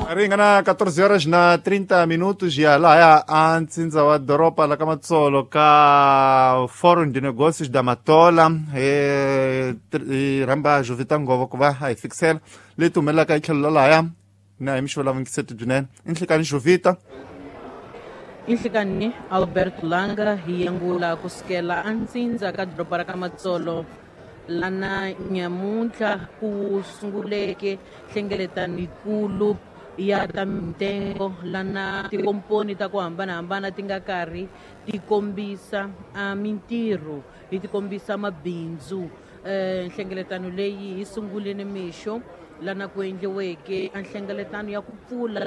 Ringana 14 horas na 30 minutos ya lahaya a ntsindza wa doroba la ka Matsolo ka Fórum de Negócios da Matola, hi rhamba Jovita Nghovo ku va a hi fikisela leti humelelaka hi tlhelo la lahaya na hi mixo lavungiseti byinene. I nhlikani, Jovita. Inhlikani, Albert Langa. Hi yangula kusukela antsindza ka doroba ra ka Matsolo, lana nyamuntlha ku sunguleke nhlengeletano yikulu ya ta mintengo, lana tikomponi ta ku hambanahambana ti nga karhi ti kombisa a mintirho, hi ti kombisa mabindzu. Nhlengeletano leyi yi sungule ni mixo, lana ku endliweke a nhlengeletano ya ku pfula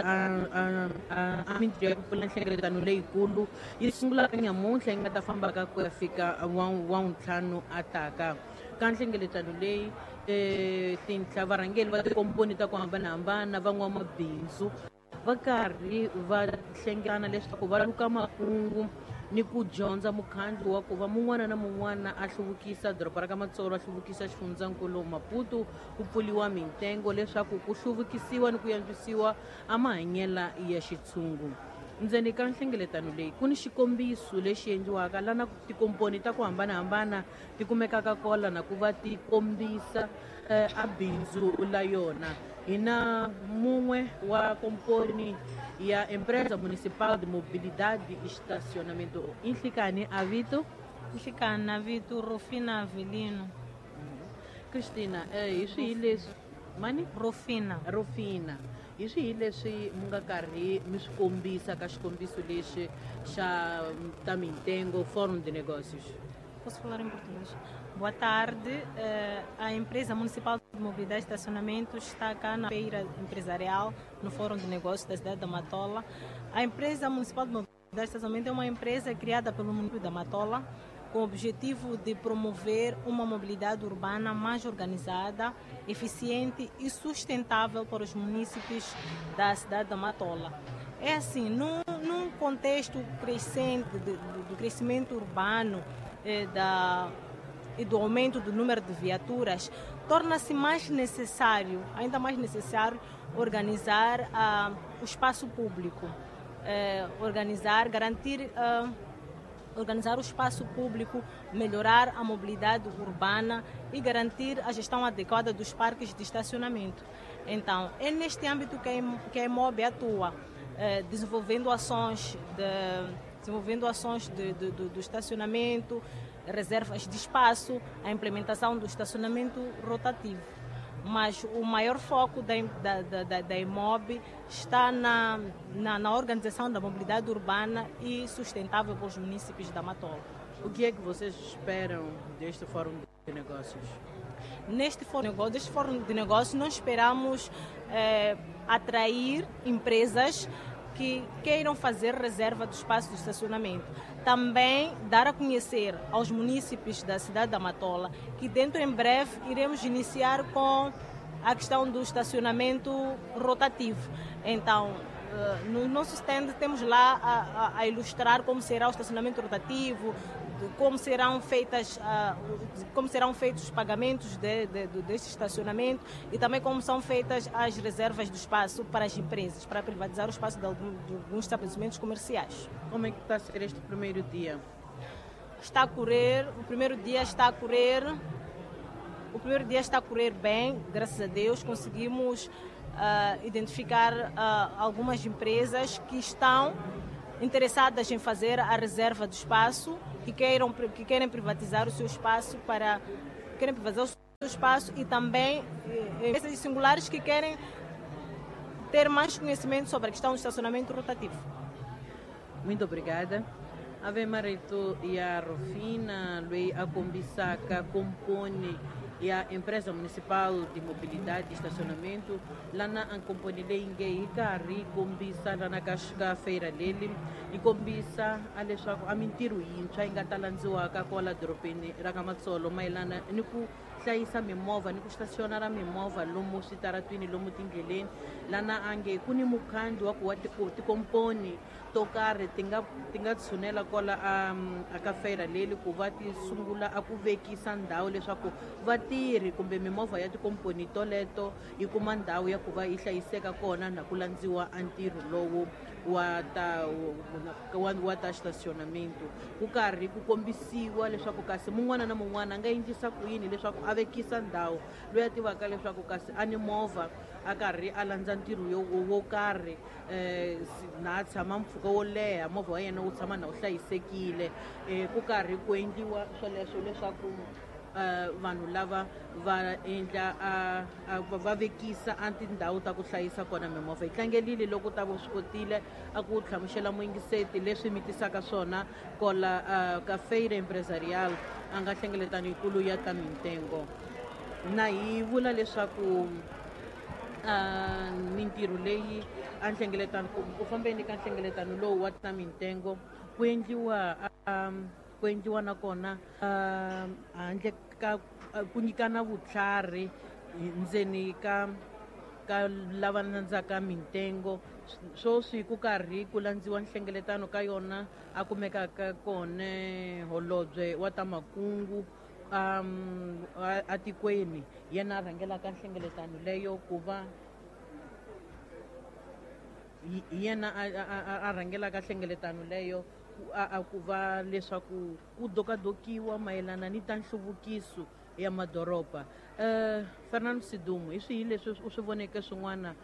a mintirho ya ku pfula nhlengeletano leyikulu yi sungulaka nyamuntlha, yi nga ta fambaka ku ya fika wa ntlhanu a taka. Ka nhlengeletano leyi, tinhla varhangeri va tikomponi ta ku hambanahambana, van'wamabindzu va karhi va hlengana leswaku va luka makungu ni ku dyondza mukhandlu wa ku va mun'wana na mun'wana a hluvukisa doroba ra ka Matsolo, a hluvukisa xifundzankulu Maputo, ku pfuriwa mintengo leswaku ku hluvukisiwa ni ku yantswisiwa a mahanyela ya xitshungu. Ndzeni ka nhlengeletano leyi ku ni xikombiso lexi endliwaka, lana tikomponi ta ku hambanahambana ti kumekaka kola na ku va ti kombisa a bindzu la yona. Hi na mun'we wa komponi ya Empresa Municipal de Mobilidade e Estacionamento. Inhlikani, a vito? Nhlikani, na vito Rufina Avelino. Christina, hi swihi leswi mani? Rufina. Rufina, hi swihi leswi mi nga karhi mi swi kombisa ka xikombiso lexi xa ta mintengo, Fórum de Negócios? Posso falar em português? Boa tarde. A empresa Municipal de Mobilidade e Estacionamento está cá na feira empresarial, no Fórum de Negócios da cidade da Matola. A empresa Municipal de Mobilidade e Estacionamento é uma empresa criada pelo município da Matola com o objetivo de promover uma mobilidade urbana mais organizada, eficiente e sustentável para os munícipes da cidade da Matola. É assim, num contexto crescente do crescimento urbano e do aumento do número de viaturas, torna-se mais necessário, ainda mais necessário, organizar o espaço público, organizar, garantir, organizar o espaço público, melhorar a mobilidade urbana e garantir a gestão adequada dos parques de estacionamento. Então, é neste âmbito que a EMOB atua, desenvolvendo ações do estacionamento, reservas de espaço, a implementação do estacionamento rotativo. Mas o maior foco da EMOB está na organização da mobilidade urbana e sustentável para os municípios da Matola. O que é que vocês esperam deste Fórum de Negócios? Neste fórum de negócios, deste fórum de negócios, nós esperamos atrair empresas que queiram fazer reserva do espaço de estacionamento. Também dar a conhecer aos munícipes da cidade da Matola que dentro em breve iremos iniciar com a questão do estacionamento rotativo. Então, no nosso stand temos lá a ilustrar como será o estacionamento rotativo, como serão feitos os pagamentos deste estacionamento e também como são feitas as reservas do espaço para as empresas, para privatizar o espaço de alguns estabelecimentos comerciais. Como é que está a ser este primeiro dia? Está a correr, o primeiro dia está a correr, o primeiro dia está a correr bem, graças a Deus, conseguimos identificar algumas empresas que estão interessadas em fazer a reserva do espaço, que querem privatizar o seu espaço para querem privatizar o seu espaço e também empresas singulares que querem ter mais conhecimento sobre a questão do estacionamento rotativo. Muito obrigada. Ave marito ya Rufina, loyi a kombisaka komponi ya Empresa Municipal de Mobilidade e Estacionamento, lana a komponi leyi nge yi karhi yi kombisa lana ka feira leli, yi kombisa a leswaku a mintirho yintshwa yi nga ta landziwaka kwala dorobeni ra ka Matsolo mayelana ni ku Hlayisa mimovha ni ku stationara mimovha lomu switaratwini, lomu tindleleni. Lana ange ku ni mukhandlu wa ku wa tikomponi to karhi ti nga tshunela kwala a ka feira leli ku va ti sungula a ku vekisa ndhawu leswaku vatirhi kumbe mimovha ya tikomponi toleto yi kuma ndhawu ya ku va yi hlayiseka kona na ku landziwa a ntirho lowu wa ta stationamento, ku karhi ku kombisiwa leswaku kasi mun'wana na mun'wana a nga endlisa ku yini leswaku a vekisa ndhawu. Loyi a tivaka leswaku kasi a ni movha, a karhi a landza ntirho wo karhi, na a tshama mpfhuka wo leha, movha wa yena wu tshama na wu hlayisekile. Ku karhi ku endliwa swoleswo leswaku vanhu lava va endla va vekisa a tindhawu ta ku hlayisa kona mimovha. Hi tlangelile loko ta vo swi kotile a ku hlamusela muyingiseti leswi mi tisaka swona kola ka Feira Empresarial, a nga hlengeletano yikulu ya ta mintengo. Na hi vula leswaku mintirho leyi a nhlengeletano, ku fambeni ka nhlengeletano lowu wa ta mintengo, ku endliwa nakona handle ka ku nyikana vutlhari ndzeni ka lava landzaka mintengo. Swoswi ku karhi ku landziwa nhlengeletano ka yona, a kumekaka kona holobye wa ta makungu atikweni, yena a rhangelaka nhlengeletano leyo, ku va hi yena a rhangelaka nhlengeletano leyo a ku va leswaku ku dokadokiwa mayelana ni ta nhluvukiso ya madoroba. Fernando Sidumo, hi swihi leswi u swi voneke swin'wana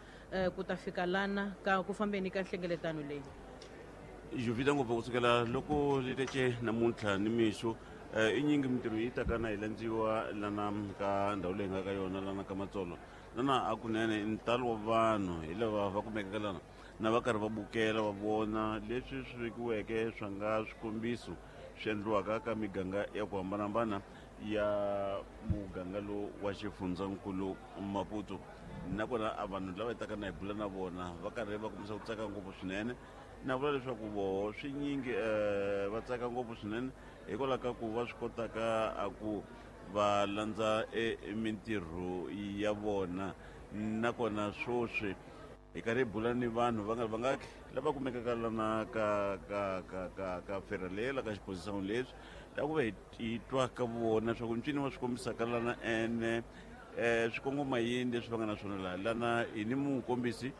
ku ta fika lana ka ku fambeni ka nhlengeletano leyi? Jovita ngopfu kusukela loko litece namuntlha ni mixo, i nyingi mintirho yi taka na yi landziwa lana ka ndhawu leyi nga ka yona lana ka Matsolo. Lana hakunene ntalo wa vanhu hi lava va kumekaka lana na va karhi va bukela, va vona leswi swi vekiweke swa nga swikombiso swi endliwaka ka miganga ya ku hambanahambana ya muganga lowu wa xifundzankulu Maputo. Nakona a vanhu lava hi taka na hi bula na vona va karhi va kombisa ku tsaka ngopfu swinene, na vula leswaku voho swi nyingi va tsaka ngopfu swinene hikwalaho ka ku va swi kotaka a ku va landza mintirho ya vona. Nakona swoswi hi karhi hi bula ni vanhu va nga ri vangaki lava kumekaka lana ka fera lela ka xiposisango leswi la ku va hi twa ka vona swa ku ncini va swi kombisaka lana ene swi kongoma yini leswi va nga na swona laha. Lana hi ni mukombisi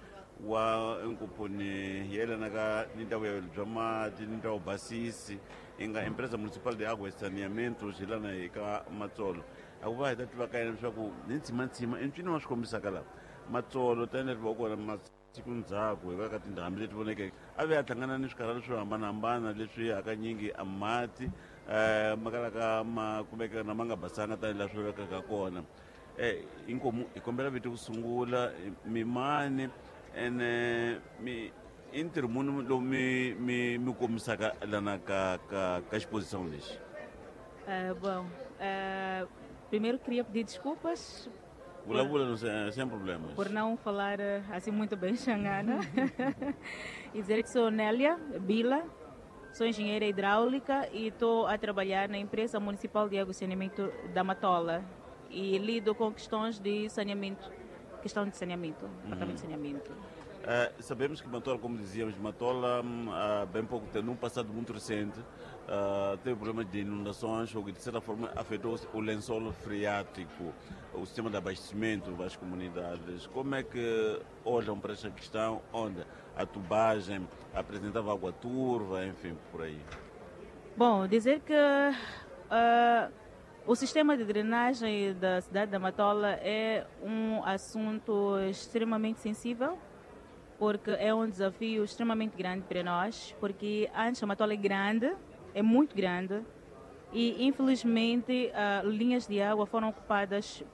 wa nkomponi yelanaka ni ta vuyelo bya mati ni ta vubasisi, yi nga Empresa Municipal de Água e Saneamento hi lana hi ka Matsolo. A ku va hi ta tiva ka yena leswaku ni ntsimantsima i ncini wa swi kombisaka laha Matsolo, tanihi va kona masiku ndzhaku hi ka tindhambi leti vonekeke, a ve a hlangana ni swikarhalo swo hambanahambana leswi hakanyingi a mati ma kalaka ma kumeka na ma nga basanga tanihi laha swi lavekaka kona. Inkomu, hi kombela vito ku sungula, mimani, ene mi i ntirho muni lowu mi kombisaka lana ka xiposição lexi? Bom, primeiro queria pedir desculpas Vulavula sem problemas. Por não falar assim muito bem xangana e dizer que sou Nélia Bila, sou engenheira hidráulica e estou a trabalhar na empresa municipal de água e saneamento da Matola e lido com questões de saneamento, questão de saneamento, departamento de saneamento. Sabemos que Matola, como dizíamos, Matola há bem pouco tempo, num passado muito recente, teve problemas de inundações, o que de certa forma afetou o lençol freático, o sistema de abastecimento das comunidades. Como é que olham para esta questão, onde a tubagem apresentava água turva, enfim, por aí? Bom, dizer que o sistema de drenagem da cidade da Matola é um assunto extremamente sensível, porque é um desafio extremamente grande para nós, porque antes a Matola é grande, é muito grande, e infelizmente linhas de água foram ocupadas.